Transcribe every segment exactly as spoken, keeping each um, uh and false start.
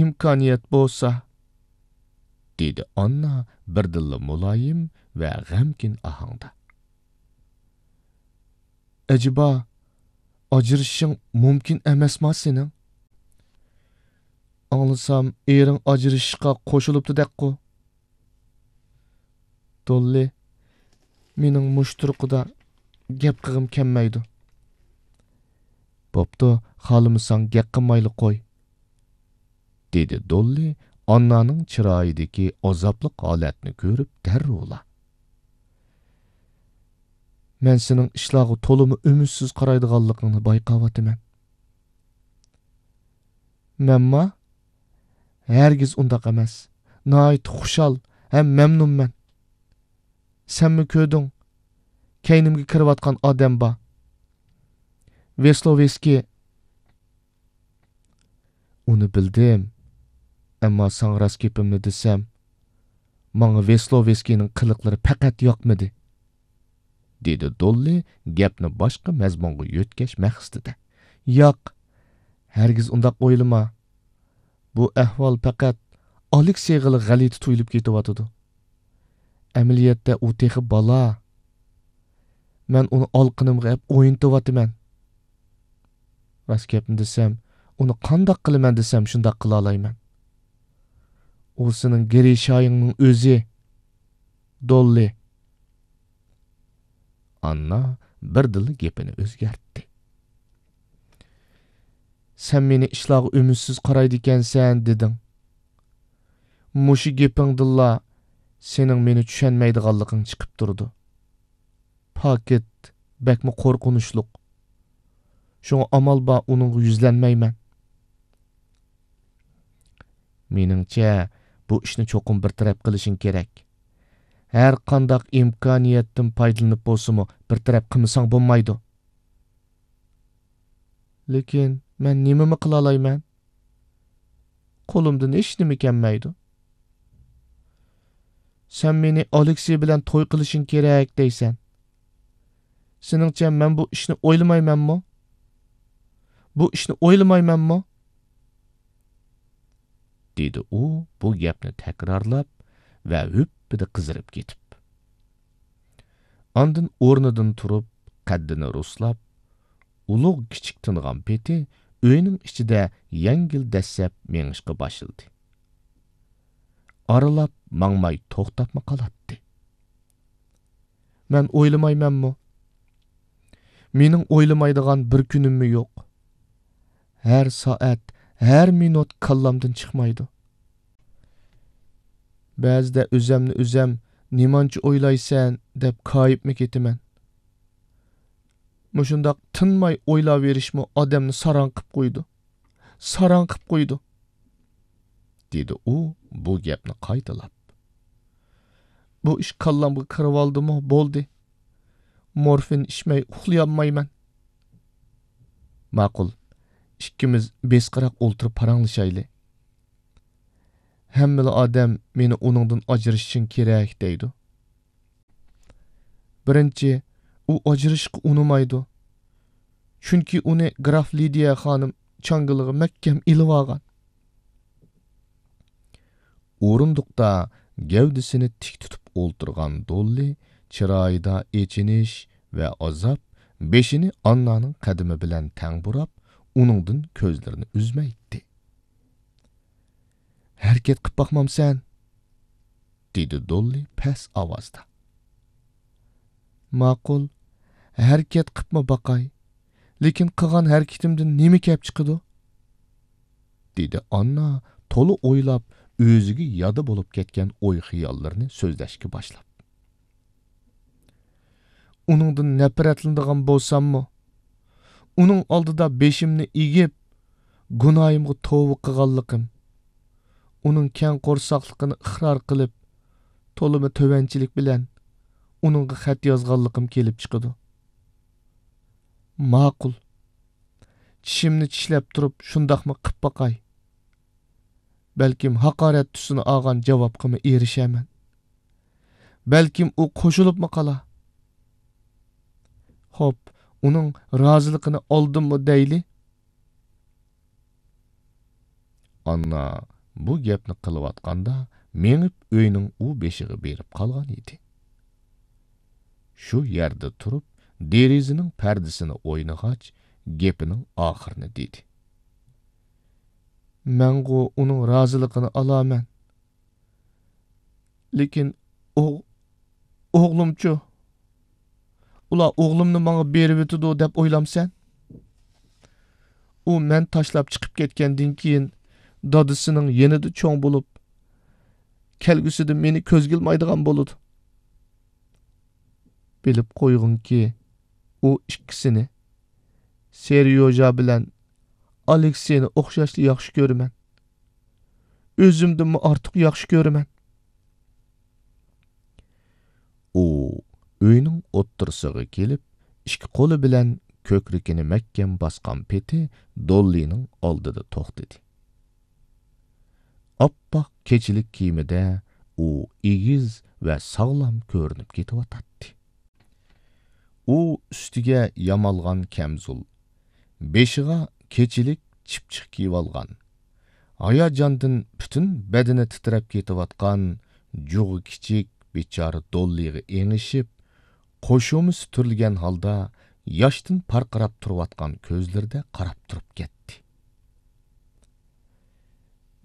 ئىمكانىيەت بولسا، دېدى ئاننا بىردىنلا مۇلايىم ۋە غەمكىن ئاھاڭدا. ئەجەبا، ئاجرىشىشىڭ مۇمكىن ئەمەسما سېنىڭ؟ ئاڭلىسام، ئېرىڭ ئاجرىشىشقا قوشۇلۇپتۇ دەپقۇ. دوللى، مېنىڭ مۇشۇ تۇرقىدا گەپ قىلغۇم كەلمەيدۇ. بوپتۇ، خالىمىساڭ گەپ قىلمايلا قوي، دېدى دوللى ئاننانىڭ چىرايىدىكى ئازابلىق ھالەتنى كۆرۈپ دەررۇلا. مەن سېنىڭ ئىشلارغا تولىمۇ ئۈمىدسىز قارايدىغانلىقىڭنى بايقاۋاتىمەن. مەنما؟ ھەرگىز ئۇنداق ئەمەس. ناھايىتى خۇشال ھەم مەمنۇنمەن. سەنمۇ كۆردۈڭ، كەينىمگە كىرىۋاتقان ئادەم بار. ۋېسلوۋېسكىي. ئۇنى بىلدىم. ئەمما ساڭا راست گېپىمنى دېسەم، ماڭا ۋېسلوۋېسكىينىڭ قىلىقلىرى پەقەت ياقمىدى، دېدى دوللى گەپنى باشقا مەزمۇنغا يۆتكەش مەقسىتىدە. ياق، ھەرگىز ئۇنداق ئويلىما. بۇ ئەھۋال پەقەت ئالېكسېيغىلا غەلىتە تۇيۇلۇپ كېتىۋاتىدۇ. ئەمەلىيەتتە ئۇ تېخى بالا. مەن ئۇنى ئالىقىنىمغا ئەپ ئوينىتىۋاتىمەن. راست گەپنى دېسەم، ئۇنى قانداق قىلىمەن دېسەم، شۇنداق قىلالايمەن. ئۇ سېنىڭ گېرىشايىڭنىڭ ئۆزى، دوللى. ئاننا بىردىنلا گېپىنى ئۆزگەرتتى. سەن مېنى ئىشلارغا ئۈمىدسىز قارايدىكەنسەن، دېدىڭ. مۇشۇ گېپىڭدىنلا سېنىڭ مېنى چۈشەنمەيدىغانلىقىڭ چىقىپ تۇرىدۇ. پاكىت بەكمۇ قورقۇنچلۇق. شۇڭا ئامال بار ئۇنىڭغا يۈزلەنمەيمەن. مېنىڭچە، بۇ ئىشنى چوقۇم بىر تەرەپ قىلىشىڭ كېرەك. ھەر قانداق ئىمكانىيەتتىن پايدىلىنىپ بولسىمۇ، بىر تەرەپ قىلمىساڭ بولمايدۇ. لېكىن مەن نېمىمۇ قىلالايمەن؟ قولۇمدىن ھېچنېمە كەلمەيدۇ. سەن مېنى ئالېكسېي بىلەن توي قىلىشىڭ كېرەك دەيسەن. سېنىڭچە مەن بۇ ئىشنى ئويلىمايمەنمۇ؟ بۇ ئىشنى ئويلىمايمەنمۇ؟ دېدى ئۇ بۇ گەپنى تەكرارلاپ ۋە ھۈپپىدە قىزىرىپ كېتىپ. ئاندىن ئورنىدىن تۇرۇپ، قەددىنى رۇسلاپ، ئۇلۇغ كىچىك تىنغان پېتى ئۆينىڭ ئىچىدە يەڭگىل دەسسەپ مېڭىشقا باشلىدى. ئارىلاپ ماڭماي توختاپمۇ قالاتتى. مەن ئويلىمايمەنمۇ؟ مېنىڭ ئويلىمايدىغان بىر كۈنۈممۇ يوق. ھەر سائەت، ھەر مىنۇت كاللامدىن چىقمايدۇ. بەزىدە ئۆزەمنى ئۆزەم، «نېمانچە ئويلايسەن؟» دەپ كايىپمۇ كېتىمەن. مۇشۇنداق تىنماي ئويلاۋېرىشمۇ ئادەمنى ساراڭ قىپ قويىدۇ. ساراڭ قىپ قويىدۇ، دېدى ئۇ بۇ گەپنى قايتىلاپ. بۇ ئىش كاللامغا كىرىۋالدىمۇ، بولدى. مورفىن ئىچمەي ئۇخلىيالمايمەن. ماقۇل، ئىككىمىز بېسىقراق ئولتۇرۇپ پاراڭلىشايلى. ھەممىلا ئادەم مېنى ئۇنىڭدىن ئاجرىشىشىڭ كېرەك دەيدۇ. بىرىنچى، ئۇ ئاجرىشىشقا ئۇنىمايدۇ. چۈنكى ئۇنى گراف لىدىيە خانىم چاڭگىلىغا مەھكەم ئېلىۋالغان. ئورۇندۇقتا گەۋدىسىنى تىك تۇتۇپ ئولتۇرغان دوللى چىرايىدا ئېچىنىش ۋە ئازاب، بېشىنى ئاننانىڭ قەدىمى بىلەن تەڭ بۇراپ، ئۇنىڭدىن كۆزلىرىنى ئۈزمەيتتى. «ھەرىكەت قىپ باقمامسەن؟» دېدى دوللى پەس ئاۋازدا. «ماقۇل، ھەرىكەت قىپمۇ باقاي، لېكىن قىلغان ھەرىكىتىمدىن نېمە كەپ چىقىدۇ؟» دېدى ئاننا تولا ئويلاپ، ئۆزىگە يادا بولۇپ كەتكەن ئوي-خىياللىرىنى سۆزلەشكە باشلاپ. ئۇنىڭدىن نەپرەتلىنىدىغان بولساممۇ، ئۇنىڭ ئالدىدا بېشىمنى ئېگىپ، گۇناھىمغا توۋا قىلغانلىقىم، ئۇنىڭ كەڭ قورساقلىقىنى ئىقرار قىلىپ، تولىمۇ تۆۋەنچىلىك بىلەن ئۇنىڭغا خەت يازغانلىقىم كېلىپ چىقىدۇ. ماقۇل، چىشىمنى چىشلەپ تۇرۇپ شۇنداقمۇ قىپ باقاي. بەلكىم ھاقارەت تۈسىنى ئالغان جاۋابقىمۇ ئېرىشەرمەن. بەلكىم ئۇ قوشۇلۇپمۇ قالا. خوپ، ئۇنىڭ رازىلىقىنى ئالدىممۇ دەيلى؟ ئاننا بۇ گەپنى قىلىۋاتقاندا مېڭىپ ئۆينىڭ ئۇ بېشىغا بېرىپ قالغان ئىدى. شۇ يەردە تۇرۇپ، دېرىزىنىڭ پەردىسىنى ئوينىغاچ، گېپىنىڭ ئاخىرىنى دېدى. مەنغۇ ئۇنىڭ رازىلىقىنى ئالامەن. لېكىن ئوغ-، ئوغلۇمچۇ؟ ئۇلار ئوغلۇمنى ماڭا بېرىۋېتىدۇ دەپ ئويلامسەن؟ ئۇ مەن تاشلاپ چىقىپ كەتكەندىن كېيىن، دادىسىنىڭ يېنىدا چوڭ بولۇپ، كەلگۈسىدە مېنى كۆزگە ئىلمايدىغان بولىدۇ. بىلىپ قويغىنكى، ئۇ ئىككىسىنى، سېريوژا بىلەن ئالېكسېينى ئوخشاشلا ياخشى كۆرىمەن. ئۆزۈمدىنمۇ ئارتۇق ياخشى كۆرىمەن. ئۇ ئۆينىڭ ئوتتۇرىسىغا كېلىپ، ئىككى قولى بىلەن كۆكرىكىنى مەھكەم باسقان پېتى دوللىنىڭ ئالدىدا توختىدى. ئاپئاق كېچىلىك كىيىمىدە ئۇ ئېگىز ۋە ساغلام كۆرۈنۈپ كېتىۋاتاتتى. ئۇ ئۈستىگە يامالغان كەمزۇل، بېشىغا كېچىلىك چىپچىق كىيىۋالغان، ھاياجاندىن پۈتۈن بەدىنى تىترەپ كېتىۋاتقان جۇغى كىچىك بىچارە دوللىغا ئېڭىشىپ، قوشۇمىسى تۈرۈلگەن ھالدا ياشتىن پارقىراپ تۇرۇۋاتقان كۆزلىرىدە قاراپ تۇرۇپ كەتتى.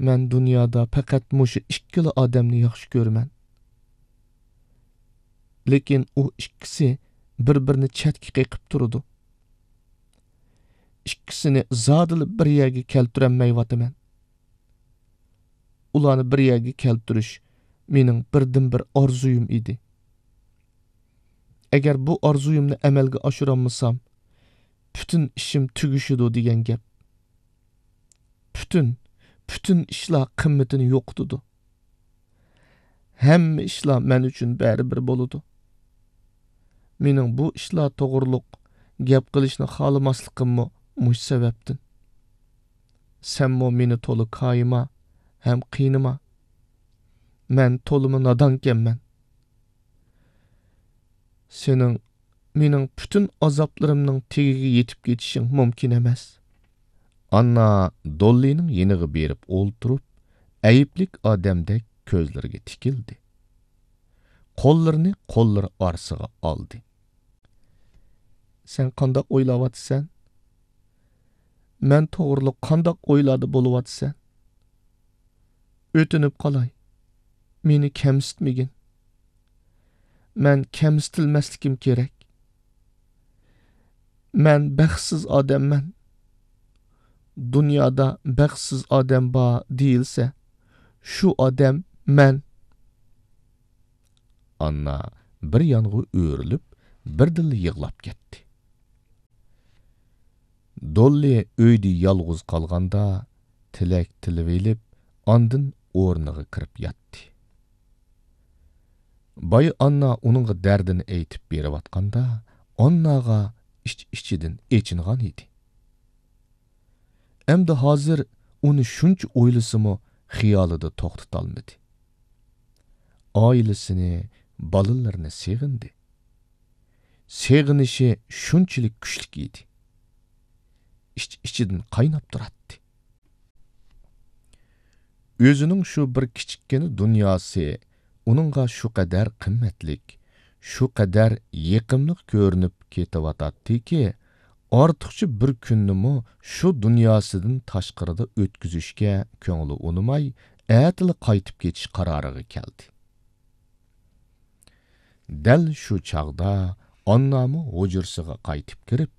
مەن دۇنيادا پەقەت مۇشۇ ئىككىلا ئادەمنى ياخشى كۆرىمەن. لېكىن ئۇ ئىككىسى بىر-بىرىنى چەتكە قېقىپ تۇرىدۇ. ئىككىسىنى زادىلا بىر يەرگە كەلتۈرەلمەيۋاتىمەن. ئۇلارنى بىر يەرگە كەلتۈرۈش مېنىڭ بىردىنبىر ئارزۇيۇم ئىدى. ئەگەر بۇ ئارزۇيۇمنى ئەمەلگە ئاشۇرالمىسام، پۈتۈن ئىشىم تۈگىشىدۇ دېگەن گەپ. پۈتۈن، پۈتۈن ئىشلار قىممىتىنى يوقىتىدۇ. ھەممە ئىشلار مەن ئۈچۈن بەرىبىر بولىدۇ. مېنىڭ بۇ ئىشلار توغرۇلۇق گەپ قىلىشنى خالىماسلىقىممۇ مۇشۇ سەۋەبتىن. سەنمۇ مېنى تولا كايىما ھەم قىينىما. مەن تولىمۇ نادانكەنمەن. سېنىڭ مېنىڭ پۈتۈن ئازابلىرىمنىڭ تېگىگە يېتىپ كېتىشىڭ مۇمكىن ئەمەس. ئاننا دوللىنىڭ يېنىغا بېرىپ ئولتۇرۇپ، ئەيىبلىك ئادەمدەك كۆزلىرىگە تىكىلدى. قوللىرىنى قوللىرى ئارىسىغا ئالدى. سەن قانداق ئويلاۋاتىسەن؟ مەن توغرۇلۇق قانداق ئويلاردا بولۇۋاتىسەن؟ ئۆتۈنۈپ قالاي، مېنى كەمسىتمىگىن. مەن كەمسىتىلمەسلىكىم كېرەك. مەن بەختسىز ئادەممەن. دۇنيادا بەختسىز ئادەم بار دېيىلسە، شۇ ئادەم مەن. ئاننا بىر يانغا ئۆرۈلۈپ، بىردىنلا يىغلاپ كەتتى. دوللى ئۆيدە يالغۇز قالغاندا، تىلەك تىلىۋېلىپ، ئاندىن ئورنىغا كىرىپ ياتتى. بايا ئاننا ئۇنىڭغا دەردىنى ئېيتىپ بېرىۋاتقاندا، ئانناغا ئىچ-ئىچىدىن ئېچىنغان ئىدى. ئەمدى ھازىر ئۇنى شۇنچە ئويلىسىمۇ، خىيالىدا توختىتالمىدى. ئائىلىسىنى، بالىلىرىنى سېغىندى. سېغىنىشى شۇنچىلىك كۈچلۈك ئىدى. ئىچ-ئىچىدىن قايناپ تۇراتتى. ئۆزىنىڭ شۇ بىر كىچىككىنە دۇنياسى ئۇنىڭغا شۇ قەدەر قىممەتلىك، شۇ قەدەر يېقىملىق كۆرۈنۈپ كېتىۋاتاتتىكى، ئارتۇقچە بىر كۈننىمۇ شۇ دۇنياسىدىن تاشقىرىدا ئۆتكۈزۈشكە كۆڭلى ئۇنىماي، ئەتىلا قايتىپ كېتىش قارارىغا كەلدى. دەل شۇ چاغدا ئاننامۇ ھۇجرىسىغا قايتىپ كىرىپ،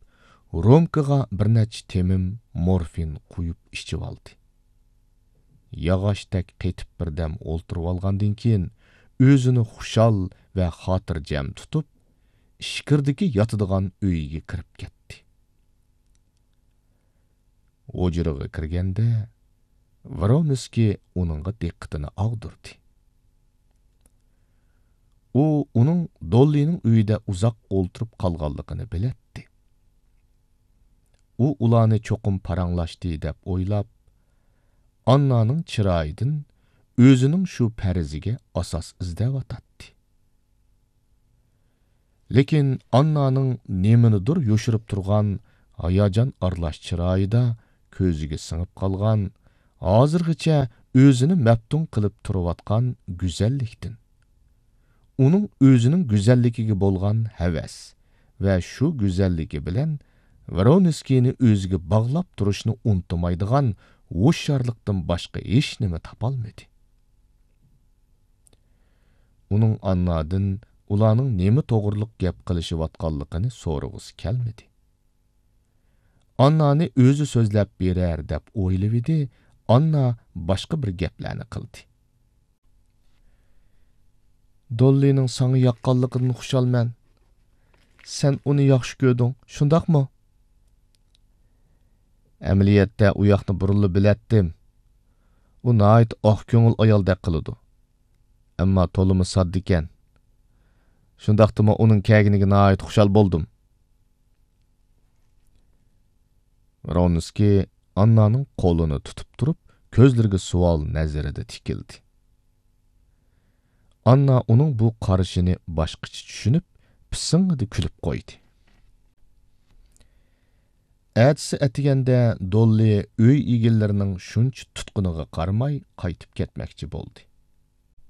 رومكىغا بىر نەچچە تېمىم مورفىن قۇيۇپ ئىچىۋالدى. ياغاچتەك قېتىپ بىردەم ئولتۇرۇۋالغاندىن كېيىن، ئۆزىنى خۇشال ۋە خاتىرجەم تۇتۇپ، ئىچكىرىدىكى ياتىدىغان ئۆيىگە كىرىپ كەتتى. ھۇجرىغا كىرگەندە، ۋرونسكىي ئۇنىڭغا دىققىتىنى ئاغدۇردى. ئۇ ئۇنىڭ دوللىنىڭ ئۆيىدە ئۇزاق ئولتۇرۇپ قالغانلىقىنى بىلەتتى. ئۇ ئۇلارنى چوقۇم پاراڭلاشتى دەپ ئويلاپ، ئاننانىڭ چىرايىدىن ئۆزىنىڭ شۇ پەرىزىگە ئاساس ئىزدەۋاتاتتى. لېكىن ئاننانىڭ نېمىنىدۇر يوشۇرۇپ تۇرغان ھاياجان ئارىلاش چىرايىدا كۆزىگە سىڭىپ قالغان، ھازىرغىچە ئۆزىنى مەپتۇن قىلىپ تۇرۇۋاتقان گۈزەللىكتىن، ئۇنىڭ ئۆزىنىڭ گۈزەللىكىگە بولغان ھەۋەس ۋە شۇ گۈزەللىكى بىلەن ۋرونسكىينى ئۆزىگە باغلاپ تۇرۇشنى ئۇنتۇمايدىغان ھوشيارلىقتىن باشقا ھېچنېمە تاپالمىدى. ئۇنىڭ ئاننادىن ئۇلارنىڭ نېمە توغرىلىق گەپ قىلىشىۋاتقانلىقىنى سورىغۇسى كەلمىدى. ئاننانى ئۆزى سۆزلەپ بېرەر دەپ ئويلىۋىدى، ئاننا باشقا بىر گەپلەرنى قىلدى. دوللىنىڭ ساڭا ياققانلىقىدىن خۇشالمەن. سەن ئۇنى ياخشى كۆردۈڭ، شۇنداقمۇ؟ ئەمەلىيەتتە ئۇ ياقنى بۇرۇنلا بىلەتتىم. ئۇ ناھايىتى ئاق كۆڭۈل ئايالدەك قىلىدۇ. ئەمما تولىمۇ ساددىكەن. شۇنداقتىمۇ ئۇنىڭ كەلگىنىگە ناھايىتى خۇشال بولدۇم. ۋرونسكىي ئاننانىڭ قولىنى تۇتۇپ تۇرۇپ، كۆزلىرىگە سوئال نەزىرىدە تىكىلدى. ئاننا ئۇنىڭ بۇ قارىشىنى باشقىچە چۈشىنىپ، پىسىڭڭىدە كۈلۈپ قويدى. ئەتىسى ئەتىگەندە دوللى ئۆي ئىگىلىرىنىڭ شۇنچە تۇتقىنىغا قارىماي قايتىپ كەتمەكچى بولدى.